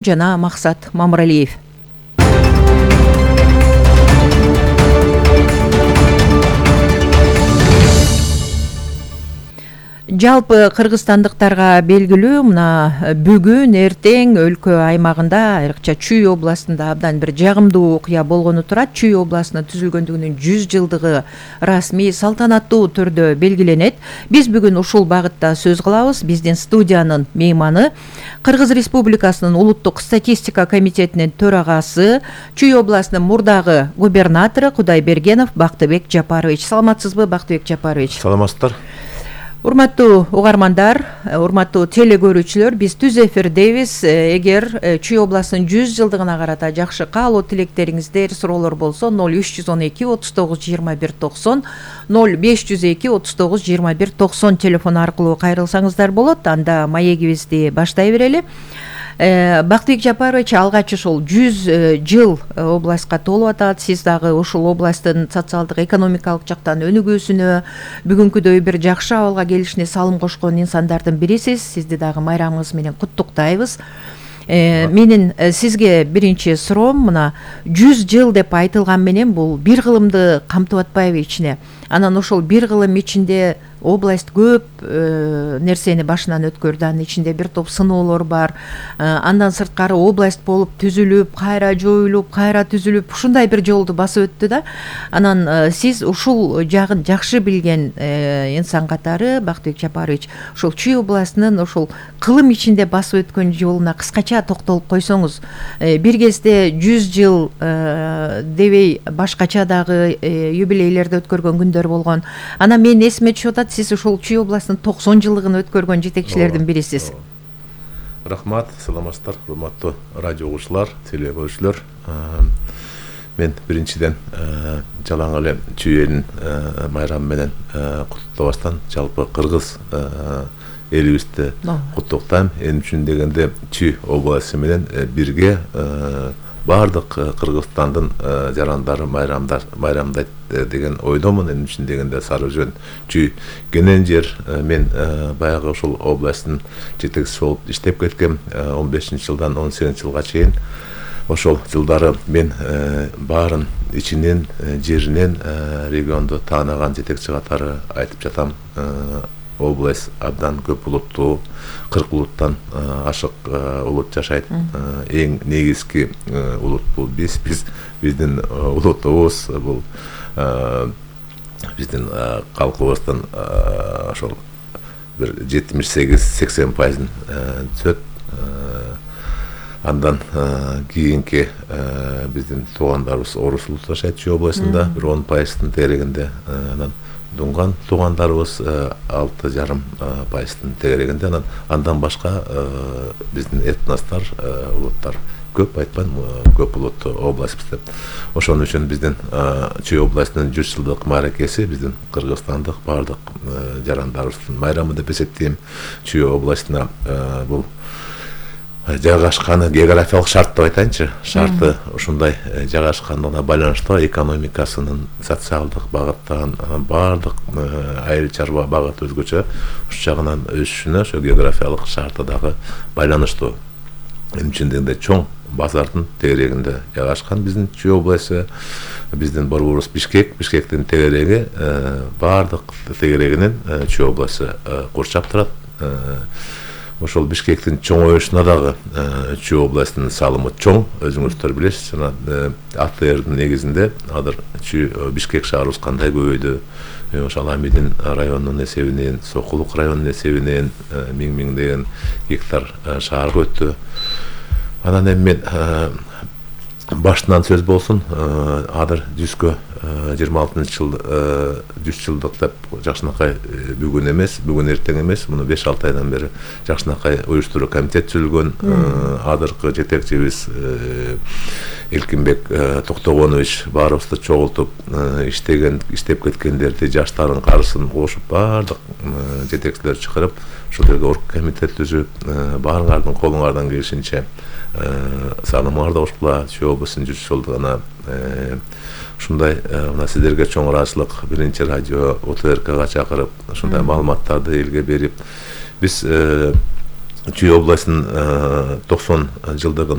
жана Максат Мамыралиев. Жалпы кыргызстандыктарга белгилүү мына бүгүн эртең өлкө аймагында айрыкча Чүй областында абдан бир жагымдуу окуя болгону турат. Чүй областынын түзүлгөндүгүнүн 100 жылдыгы расмий салтанаттуу түрдө белгиленет. Биз бүгүн ушул багытта сөз кылабыз. Биздин студиянын мейманы Кыргыз Республикасынын улуттук статистика комитетинин төрагасы, Чүй областынын мурдагы губернатору Кудайбергенов Бактыбек Жапарович. Саламатсызбы, Бактыбек Жапарович? Саламатсыздар. Урматтуу угармандар, урматтуу теле-көрүүчүлөр, биз түз эфирдебиз. Эгер Чүй областынын 100 жылдыгына карата жакшы каалоо тилектериңиздер, суроолор болсо 0312 39 21 90, 0502 39 21 90 телефон аркылуу кайрылсаңыздар болот. Анда маегибизди баштай берели. Бактыбек Жапарович, алгач ушул 100 жыл областка толуп атат. Сиз дагы ушул областтын социалдык экономикалык жактан өнүгүүсүнө, бүгүнкүдөй бир жакшы абалга келишине салым кошкон инсандардын бирисиз. Сизди дагы майрамыңыз менен куттуктайбыз. Менин сизге биринчи суроом, мына 100 жыл деп айтылган менен бул бир кылымды камтып атпайбы ичине? Анан ошол бир кылым ичинде область көп нерсени башынан өткөрдү. Анын ичинде бир топ сыноолор бар. Андан сырткары область болуп түзүлүп, кайра жоюлуп, кайра түзүлүп, ушундай бир жолду басып өттү да. Анан сиз ушул жагын жакшы билген инсан катары, Бактыбек Жапарович, ушул Чүй областынын ушул кылым ичинде басып өткөн жолуна кыскача токтолуп койсоңуз. Бир кезде 100 жыл дебей башкача дагы юбилейлерди өткөргөн күндөр болгон. Анан мен эсиме түшүп атат, сиз ушул Чүй областынын 90 жылдыгын өткөргөн жетекчилердин бирисиз. Рахмат, саламатсыздар, урматтуу радио угуучулар, теле-көрүүчүлөр. Мен биринчиден жалаң эле Чүй элин майрамы менен куттуктабастан жалпы кыргыз элибизди куттуктайм. Эми үчүн дегенде Чүй областы менен бирге бардык Кыргызстандын жарандары майрамдайт деген ойдомун. Эми үчүн дегенде Сары Өзөн, Чүй кенен жер. Мен баягы ушул областтын жетекчиси болуп иштеп кеткем 15-жылдан 18-жылга чейин. Ошол жылдары мен баарын ичинен, жеринен регионду таанаган жетекчи катары айтып жатам. Область абдан көп улуттуу, 40 улуттан ашык улут жашайт. Эң негизги улут бул биздин улутубуз, бул биздин калкыбыздын ошол бир 78-80% түзөт. Андан кийинки биздин туугандарыбыз орус улуты жашайт Чүй областында, бир 10% тегерегинде. Анан дунган туугандарыбыз 6,5% тегерегинде. Андан башка биздин этностор, улуттар көп, айтпайм, көп улуттуу областыбыз деп. Ошон үчүн биздин Чүй областынын 100 жылдык мааракеси биздин кыргызстандык бардык жарандарыбыздын майрамы деп эсептейм. Чүй областына бул жайгашканы, географиялык шарт деп айтайынчы, шарты ушундай жайгашкандыгына байланыштуу экономикасынын социалдык багыттан бардык айыл чарба багыты өзгөчө уш жагынан өсүшүнө ошо географиялык шарты дагы байланыштуу. Эми үчүн дегенде чоң базардын тегерегинде жайгашкан биздин Чүй областы. Биздин борборубуз Бишкектин тегереги бардык тегерегинен Чүй областы курчап турат. Ошол Бишкектин чоңоюшуна дагы Чүй областынын салымы чоң, өзүңүздөр билесиз. Жана АТРдын негизинде азыр Бишкек шаарыбыз кандай көбөйдү. Ошол Амидин районунун эсебинен, Сокулук районунун эсебинен миңдеген гектар шаарга өттү. Анан эми мен башынан сөз болсун, азыр 26-жыл 100 жылдык деп жакшынакай бүгүн эмес, бүгүн эртең эмес, муну 5-6 айдан бери жакшынакай уюштуруу комитет түзүлгөн. Азыркы жетекчибиз Элкинбек Токтогонович баарыбызды чогултуп, иштеп кеткендерди, жаштардын карысын кошуп, бардык жетекчилер чакырып, ошол жерге оргкомитет түзүп, баарыңардын колуңардан келишинче салымыңарды кошкула. Чүй областынын 100 жылдыгына ушундай мына сиздерге чоң ыраазычылык, биринчи радио ОТРКга чакырып, ушундай маалыматтарды элге берип, биз Чүй областынын 90 жылдыгын